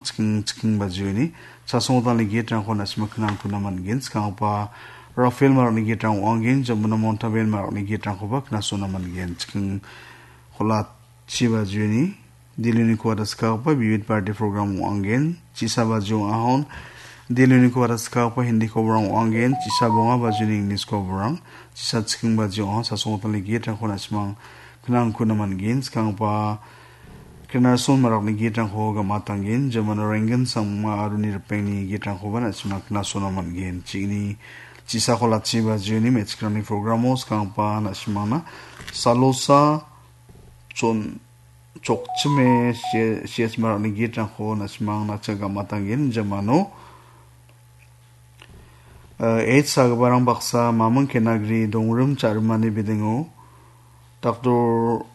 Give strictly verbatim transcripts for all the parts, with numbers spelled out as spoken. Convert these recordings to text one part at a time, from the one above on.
chiking, chiking bajioni chasonggitalni gate-rangko na·sima knangkuna man·gen. Skanggipa Rafael Marakni gate-rang ong·angen, Jamuna Montaben Marakni gate-rangkoba knasona man·gen. Chiking kolatchi bajioni Diluni kuara skanggipa Vivid Bharati program ong·angen. Chisa bajio ahon Diluni kuara skanggipa Hindi koborang ong·angen. Chisa bonga bajioni English koborang. Chisa chiking bajio ahon chasonggitalni gate-rangko na·simang knangkuna man·gen. Skanggipa Krinason Marakni gate-rangko gam·atanggen, Jamuna Renggen Sangma aroni ripengni gate-rangkoba na·simang knasona man·gen. Chini chisa kolatchi bajioni me·chikrangni programo skanggipa na·simangna Salosa Chon-, Chokchime C-, C S Marakni gate-rangko na·simang na·cha gam·atanggen, Jamano. Eh, H sagiparang baksa Mamung Kenagri dongrim cha·rimani bidengo Doctor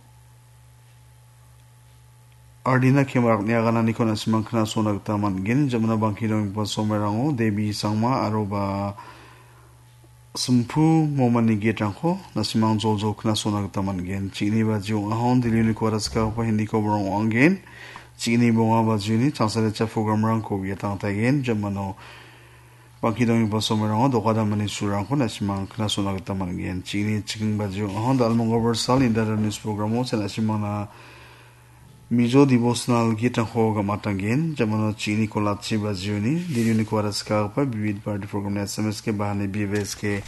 Ardina Kemarakni agananiko na·simang knasona gita man·gen. Jamuna bangki donggipa somerango Devi Sangma aroba Simphu Momani gate-rangko na·simang joljol knasona gita man·gen. Chini bajio ahon Diluni kuara skanggipa Hindi koborang ong·angen. Chini bonga bajioni changsarecha program-rangko uiatangtaigen. Jamano bangki donggipa somerango doka damani surangko na·simang knasona gita man·gen. Chini chiking bajio ahon Dalmong Gobar Sal Indara News programo cha na·simangna Mizo devotional gate-rangko gam·atanggen. Jamano chini kolatchi bajioni, Diluni kuara skanggipa Vivid Bharati program-ni S M S ke bahani B V S ke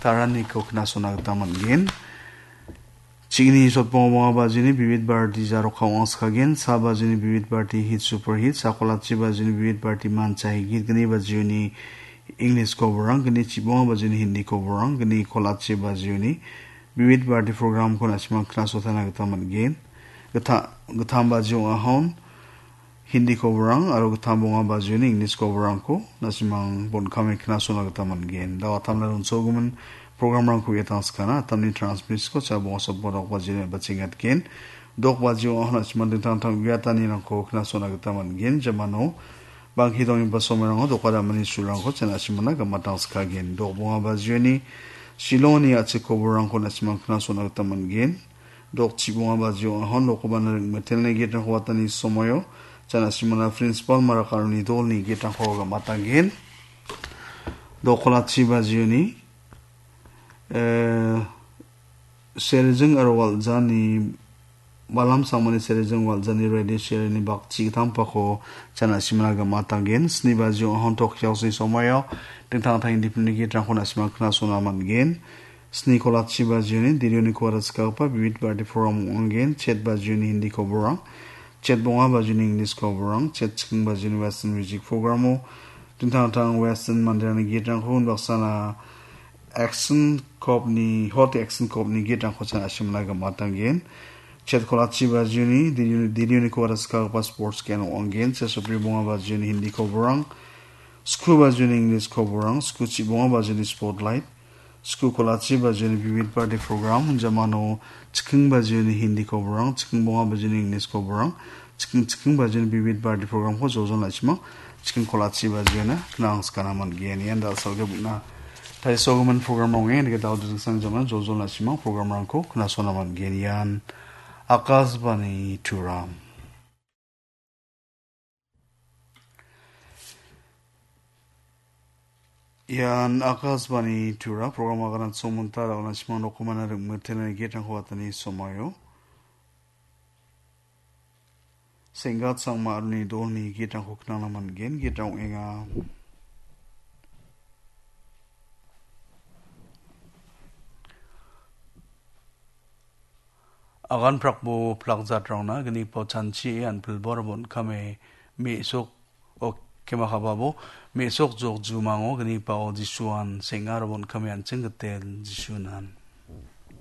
taraniko knasona gita man·gen. Chini sotbonga bonga bajioni Vivid Bharati Jaroka ong·askagen, sa bajioni Vivid Bharati Hit Super Hit, sa kolatchi bajioni Vivid Bharati Mancha Hit, gni bajioni English koborang, gni chibonga bajioni Hindi koborang, gni kolatchi bajioni Vivid Bharati program-ko na·simang knasotana gita man·gen. Gita-, gittam bajio ahon Hindi koborang aro gittam bonga bajioni English koborangko na·simang bon·kame knasona gita man·gen. Da·o atamna ronsogimin program-rangko ia tangskana, atamni transmit-ko cha bonga sopodok bajioni bachengatgen. Dok bajio ahon na·simang dingtang dingtang uiatanirangko knasona gita man·gen. Jamano bangki donggipa somerango doka damani surangko cha na·simangna gam·atangskagen. Dok bonga bajioni Shillongni a·chik koborangko na·simang knasona gita man·gen. Dok chibonga bajio ahon rokomana ring·metelni gate-rangko watani somoio cha na·simangna Principal Marak aroni dolni gate-rangko gam·atanggen. Dok kolatchi bajioni, eh, Serijing aro Waljani, Balam Sangmani Serijing Waljani radio serini bakchi gitampako cha na·simangna gam·atanggen. Sni bajio ahon tok yaosni somoio dingtang dingtang independent gate-rangko na·simang knasona man·gen. Sni kolatchi bajioni Dirioni kuara skanggipa Vivid Bharati program ong·angen. Chet bajioni Hindi koborang, chet bonga bajioni English koborang, chet chiking bajioni Western music programo dingtang dingtang Western manderangni gate-rangko unbaksana Action Cop-ni, Hot Action Cop-ni gate-rangko cha na·simangna gam·atanggen. Chet kolatchi bajioni Dirioni, Dirioni kuara skanggipa sports gen ong·angen. Chet sopri bonga bajioni Hindi koborang, sku bajioni English koborang, sku chibonga bajioni Spotlight, sku kolatchi bajioni Vivid Bharati program, jamano chiking bajioni Hindi koborang, chiking bonga bajioni English koborang, chiking, chiking bajioni Vivid Bharati program-ko joljol na·simang, chiking kolatchi bajiona knangskana man·gen. Ian da·salgipna taisogimin program ong·e, indake da·o dingtang jaman joljol na·simang program-rangko knasona man·gen. Ian Akashvani Turam. Ian Akashvani Tura program aganat somonta da·ona simang rokomana ring·mitelni gate-rangko watani somaio. Senggat Sangma aroni dolni gate-rangko knangna man·gen, gate-rang ong·enga. Agan prakbo plak jatrangna gnipao chanchie anpilbo aro bon·kame me·sok, o, kemakababo me·sok jok jumango gnipao Jisuan seng·a aro bon·kame an·ching gitel Jisunan.